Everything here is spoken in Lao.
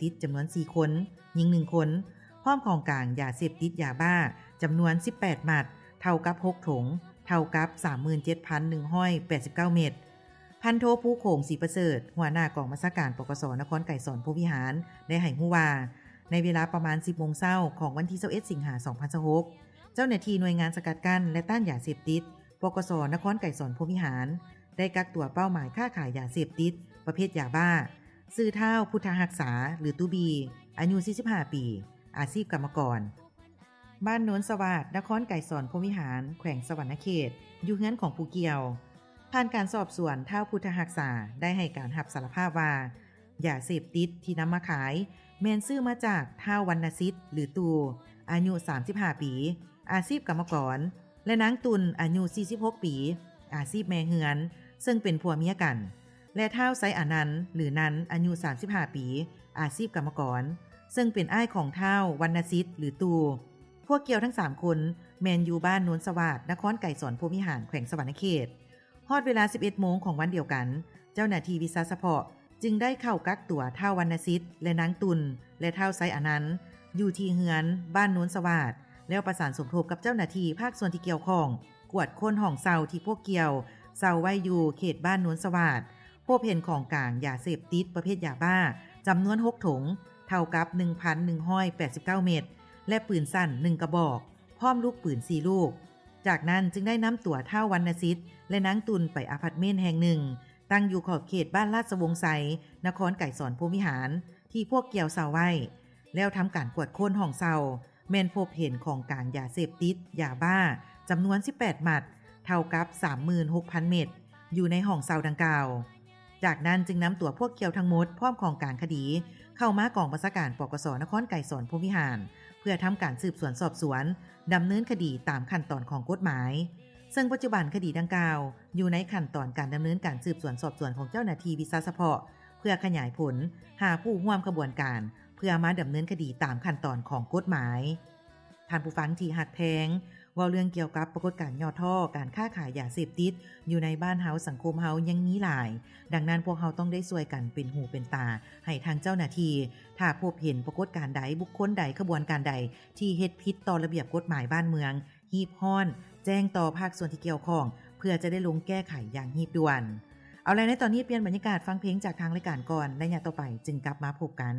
ຕິດຈຳນວນສີ່ຄົນ, ຍິງໜຶ່ງຄົນ, ພ້ອມຂອງກາງຢາເສບຕິດຢາບ້າຈຳນວນສິບແປດມັດ, ເທົ່າກັບຫົກຖົງ, ເທົ່າກັບສາມໝື່ນເຈັດພັນໜຶ່ງຮ້ອຍແປດສິບເກົ້າເມັດ. ພັນໂທ ພູໂຂງ ສີປະເສີດ, ຫົວໜ້າກອງບັນຊາການ ປກສ ນະຄອນໄກສອນ ພົມວິຫານ ໄດ້ໃຫ້ຮູ້ວ່າ ໃນເວລາປະມານສິບໂມງເຊົ້າຂອງວັນທີຊາວເອັດ ສິງຫາ ສອງພັນຊາວຫົກ, ເຈົ້າໜ້າທີ່ໜ່ວຍງານສະກັດກັ້ນ ແລະ ຕ້ານຢາເສບຕິດ ປກສ ນະຄອນໄກສອນ ພົມວິຫານ ໄດ້ກັກຕົວເປົ້າໝາຍຄ້າຂາຍຢາເສບຕິດປະເພດຢາບ້າ ຊື່ ທ້າວ ພຸດທະຮັກສາ ຫຼື ຕູ້ບີ ອາຍຸສີ່ສິບຫ້າປີ, ອາຊີບກຳມະກອນ, ບ້ານໂນນສະຫວາດ, ນະຄອນໄກສອນ ພົມວິຫານ, ແຂວງສະຫວັນນະເຂດ, ຢູ່ເຮືອນຂອງຜູ້ກ່ຽວ. ຜ່ານການສອບສວນ, ທ້າວ ພຸດທະຮັກສາ ໄດ້ໃຫ້ການຮັບສາລະພາບວ່າ ຢາເສບຕິດທີ່ນຳມາຂາຍ ແມ່ນຊື້ມາຈາກ ທ້າວ ວັນນະສິດ ຫຼື ຕູ້ ອາຍຸສາມສິບຫ້າປີ, ອາຊີບກຳມະກອນ ແລະ ນາງຕຸ່ນ ອາຍຸສີ່ສິບຫົກປີ, ອາຊີບແມ່ເຮືອນ, ເຊິ່ງເປັນຜົວເມຍກັນ ແລະ ທ້າວ ໄຊອານັນ ຫຼື ນັນ ອາຍຸສາມສິບຫ້າປີ, ອາຊີບກຳມະກອນ, ເຊິ່ງເປັນອ້າຍຂອງ ທ້າວ ວັນນະສິດ ຫຼື ຕູ້. ພວກກ່ຽວທັງສາມຄົນ ແມ່ນຢູ່ບ້ານໂນນສະຫວາດ, ນະຄອນໄກສອນ ພົມວິຫານ, ແຂວງສະຫວັນນະເຂດ. ຮອດເວລາສິບເອັດໂມງຂອງວັນດຽວກັນ, ເຈົ້າໜ້າທີ່ວິຊາສະເພາະຈຶ່ງໄດ້ເຂົ້າກັກຕົວ ທ້າວ ວັນນະສິດ ແລະ ນາງຕຸ່ນ ແລະ ທ້າວ ໄຊອານັນ ຢູ່ທີ່ເຮືອນ ບ້ານໂນນສະຫວາດ ແລ້ວປະສານສົມທົບກັບເຈົ້າໜ້າທີ່ພາກສ່ວນທີ່ກ່ຽວຂ້ອງ ກວດຄົ້ນຫ້ອງເຊົ່າທີ່ພວກກ່ຽວເຊົ່າໄວ້ຢູ່ເຂດບ້ານໂນນສະຫວາດ, ພົບເຫັນຂອງກາງຢາເສບຕິດປະເພດຢາບ້າຈຳນວນຫົກຖົງ, ເທົ່າກັບໜຶ່ງພັນໜຶ່ງຮ້ອຍແປດສິບເກົ້າເມັດ ແລະ ປືນສັ້ນໜຶ່ງກະບອກ, ພ້ອມລູກປືນສີ່ລູກ. ຈາກນັ້ນຈຶ່ງໄດ້ນຳຕົວ ທ້າວ ວັນນະສິດ ແລະ ນາງຕຸ່ນ ໄປອາພາດເມັນແຫ່ງໜຶ່ງ ຕັ້ງຢູ່ຂອບເຂດບ້ານລາດຊະວົງໄຊ, ນະຄອນໄກສອນ ພົມວິຫານ ທີ່ພວກກ່ຽວເຊົ່າໄວ້, ແລ້ວທຳການກວດຄົ້ນຫ້ອງເຊົ່າ, ແມ່ນພົບເຫັນຂອງກາງຢາເສບຕິດຢາບ້າຈຳນວນສິບແປດມັດ, ເທົ່າກັບສາມໝື່ນຫົກພັນເມັດ ຢູ່ໃນຫ້ອງເຊົ່າດັ່ງກ່າວ. ຈາກນັ້ນຈຶ່ງນຳຕົວພວກກ່ຽວທັງໝົດ ພ້ອມຂອງກາງຄະດີ ເຂົ້າມາກອງບັນຊາການ ປກສ ນະຄອນໄກສອນ ພົມວິຫານ ເພື່ອທຳການສືບສວນສອບສວນ, ດຳເນີນຄະດີຕາມຂັ້ນຕອນຂອງກົດໝາຍ. ເຊິ່ງປັດຈຸບັນຄະດີດັ່ງກ່າວ ຢູ່ໃນຂັ້ນຕອນການດຳເນີນການສືບສວນສອບສວນຂອງເຈົ້າໜ້າທີ່ວິຊາສະເພາະ ເພື່ອຂະຫຍາຍຜົນຫາຜູ້ຮ່ວມຂະບວນການ ເພື່ອມາດຳເນີນຄະດີຕາມຂັ້ນຕອນຂອງກົດໝາຍ. ທ່ານຜູ້ຟັງທີ່ຮັກແພງ, ເວົ້າເລື່ອງກ່ຽວກັບປາກົດການຫຍໍ້ທໍ້ການຄ້າຂາຍຢາເສບຕິດຢູ່ໃນບ້ານເຮົາ, ສັງຄົມເຮົາຍັງມີຫຼາຍ. ດັ່ງນັ້ນ, ພວກເຮົາຕ້ອງໄດ້ຊ່ວຍກັນເປັນຫູເປັນຕາໃຫ້ທາງເຈົ້າໜ້າທີ່. ຖ້າພົບເຫັນປາກົດການໃດ, ບຸກຄົນໃດ, ຂະບວນການໃດທີ່ເຮັດຜິດຕໍ່ລະບຽບກົດໝາຍບ້ານເມືອງ, ຮີບຮ້ອນແຈ້ງຕໍ່ພາກສ່ວນທີ່ກ່ຽວຂ້ອງ ເພື່ອຈະໄດ້ລົງແກ້ໄຂຢ່າງຮີບດ່ວນ. ເອົາລະ, ໃນຕອນນີ້ປ່ຽນບັນຍາກາດ, ຟັງເພງຈາກທາງລາຍການກ່ອນ, ໄລຍະຕໍ່ໄປຈຶ່ງກັບມາພົບກັນ.